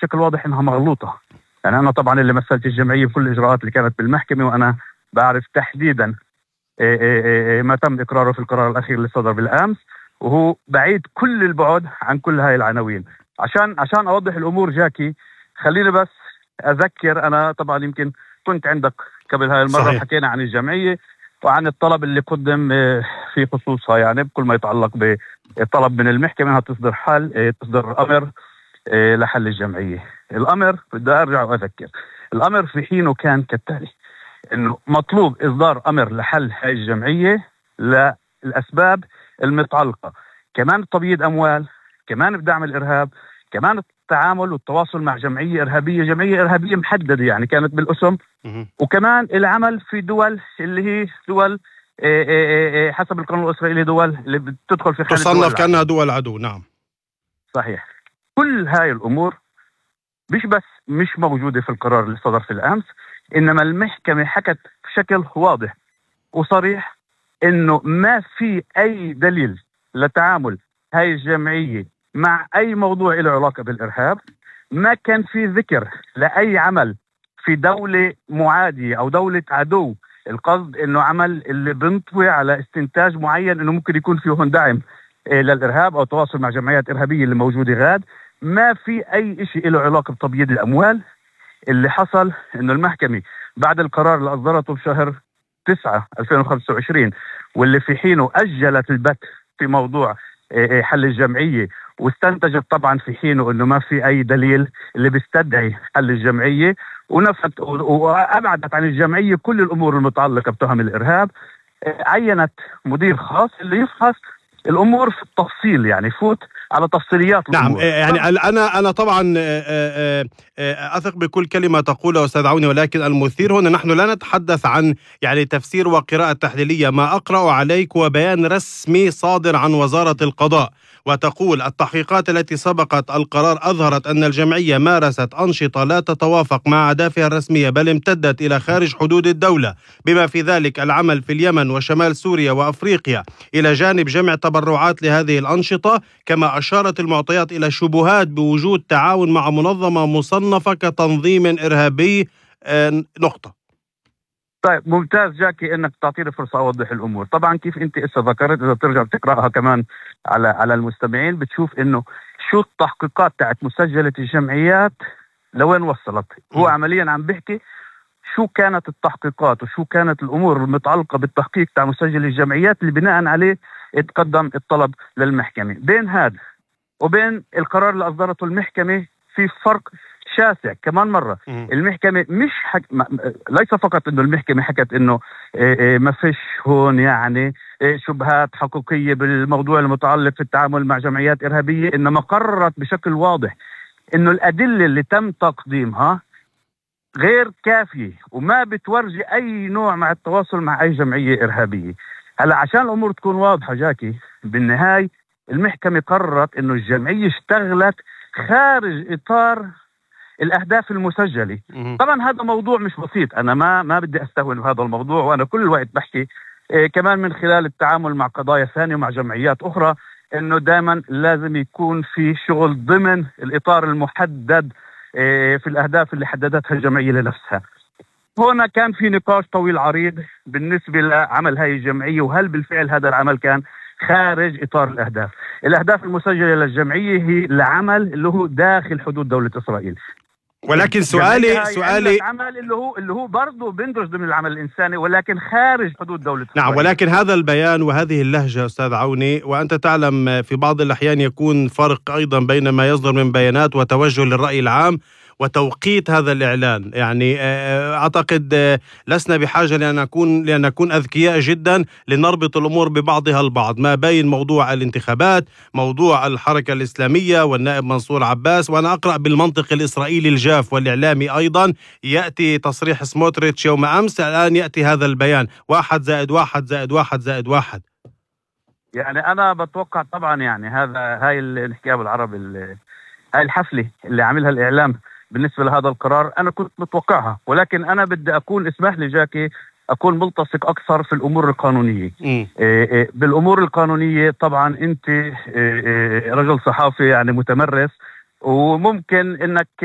بشكل واضح انها مغلوطة. يعني انا طبعا اللي مثلت الجمعية بكل الاجراءات اللي كانت بالمحكمة، وانا بعرف تحديدا ما تم اقراره في القرار الاخير اللي صدر بالامس، وهو بعيد كل البعد عن كل هاي العناوين. عشان اوضح الامور جاكي، خليني بس اذكر. انا طبعا يمكن كنت عندك قبل هاي المرة، صحيح. حكينا عن الجمعية وعن الطلب اللي قدم في خصوصها، يعني بكل ما يتعلق بالطلب من المحكمة انها تصدر امر لحل الجمعية. الامر بدي ارجع واذكر، الامر في حينه كان كالتالي: انه مطلوب اصدار امر لحل هاي الجمعية للاسباب المتعلقة كمان بتبييض اموال، كمان بدعم الارهاب، كمان التعامل والتواصل مع جمعية إرهابية محددة يعني كانت بالاسم، وكمان العمل في دول اللي هي دول حسب القانون الإسرائيلي دول اللي بتدخل في خانة تصنف كأنها دول عدو. نعم صحيح. كل هاي الأمور مش موجودة في القرار اللي صدر في الأمس، إنما المحكمة حكت بشكل واضح وصريح إنه ما في أي دليل لتعامل هاي الجمعية مع أي موضوع له علاقة بالإرهاب. ما كان في ذكر لأي عمل في دولة معادية أو دولة عدو، القصد إنه عمل اللي بنطوي على استنتاج معين إنه ممكن يكون فيه دعم للإرهاب أو تواصل مع جمعيات إرهابية اللي موجودة غاد. ما في أي إشي له علاقة بتبييض الأموال. اللي حصل إنه المحكمة بعد القرار اللي أصدرته بشهر 9 2025 واللي في حينه أجلت البت في موضوع حل الجمعية، واستنتجت طبعا في حينه انه ما في اي دليل اللي بيستدعي حل الجمعية، ونفت وابعدت عن الجمعية كل الامور المتعلقة بتهم الارهاب. عينت مدير خاص اللي يفحص الامور في التفصيل، يعني يفوت على تفصيليات الامور. نعم. يعني انا طبعا اثق بكل كلمة تقولها استاذ عوني، ولكن المثير هنا نحن لا نتحدث عن يعني تفسير وقراءة تحليلية. ما اقرأ عليك وبيان رسمي صادر عن وزارة القضاء، وتقول: التحقيقات التي سبقت القرار أظهرت أن الجمعية مارست أنشطة لا تتوافق مع أهدافها الرسمية، بل امتدت إلى خارج حدود الدولة، بما في ذلك العمل في اليمن وشمال سوريا وأفريقيا، إلى جانب جمع تبرعات لهذه الأنشطة. كما أشارت المعطيات إلى شبهات بوجود تعاون مع منظمة مصنفة كتنظيم إرهابي. نقطة. طيب ممتاز جاكي انك تعطيني فرصة اوضح الامور. طبعا كيف انت ذكرت، اذا ترجع تقرأها كمان على المستمعين بتشوف انه شو التحقيقات تاعت مسجلة الجمعيات لوين وصلت. هو عمليا عم بيحكي شو كانت التحقيقات وشو كانت الامور المتعلقة بالتحقيق تاع مسجل الجمعيات اللي بناء عليه اتقدم الطلب للمحكمة. بين هذا وبين القرار اللي اصدرته المحكمة في فرق شاسع. كمان مرة المحكمة ليس فقط انه المحكمة حكت انه ما فيش هون يعني شبهات حقيقية بالموضوع المتعلق في التعامل مع جمعيات إرهابية، انما قررت بشكل واضح انه الأدلة اللي تم تقديمها غير كافية وما بتورجي اي نوع مع التواصل مع اي جمعية إرهابية. هلا عشان الامور تكون واضحة جاكي، بالنهاية المحكمة قررت انه الجمعية اشتغلت خارج اطار الأهداف المسجلة. طبعا هذا موضوع مش بسيط، أنا ما بدي أستهون بهذا الموضوع، وأنا كل الوقت بحكي كمان من خلال التعامل مع قضايا ثانية ومع جمعيات أخرى إنه دائما لازم يكون في شغل ضمن الإطار المحدد في الأهداف اللي حددتها الجمعية لنفسها. هنا كان في نقاش طويل عريض بالنسبة لعمل هاي الجمعية، وهل بالفعل هذا العمل كان خارج إطار الأهداف المسجلة للجمعية هي العمل اللي هو داخل حدود دولة إسرائيل. ولكن سؤالي العمل اللي هو برضه بندرج ضمن العمل الإنساني ولكن خارج حدود دولة إسرائيل. نعم، ولكن هذا البيان وهذه اللهجة أستاذ عوني، وأنت تعلم في بعض الأحيان يكون فرق أيضا بين ما يصدر من بيانات وتوجه للرأي العام وتوقيت هذا الإعلان. يعني أعتقد لسنا بحاجة لأن نكون أذكياء جدا لنربط الأمور ببعضها البعض، ما بين موضوع الانتخابات، موضوع الحركة الإسلامية والنائب منصور عباس. وأنا أقرأ بالمنطق الإسرائيلي الجاف والإعلامي أيضا، يأتي تصريح سموتريتش يوم أمس، الآن يأتي هذا البيان 1+1+1+1. يعني أنا بتوقع طبعا يعني هاي الحكاية بالعربي، هاي الحفلة اللي عاملها الإعلام بالنسبة لهذا القرار أنا كنت متوقعها، ولكن أنا بدي أكون، اسمح لي جاكي، أكون ملتصق أكثر في الأمور القانونية. بالأمور القانونية طبعا أنت رجل صحافي يعني متمرس، وممكن أنك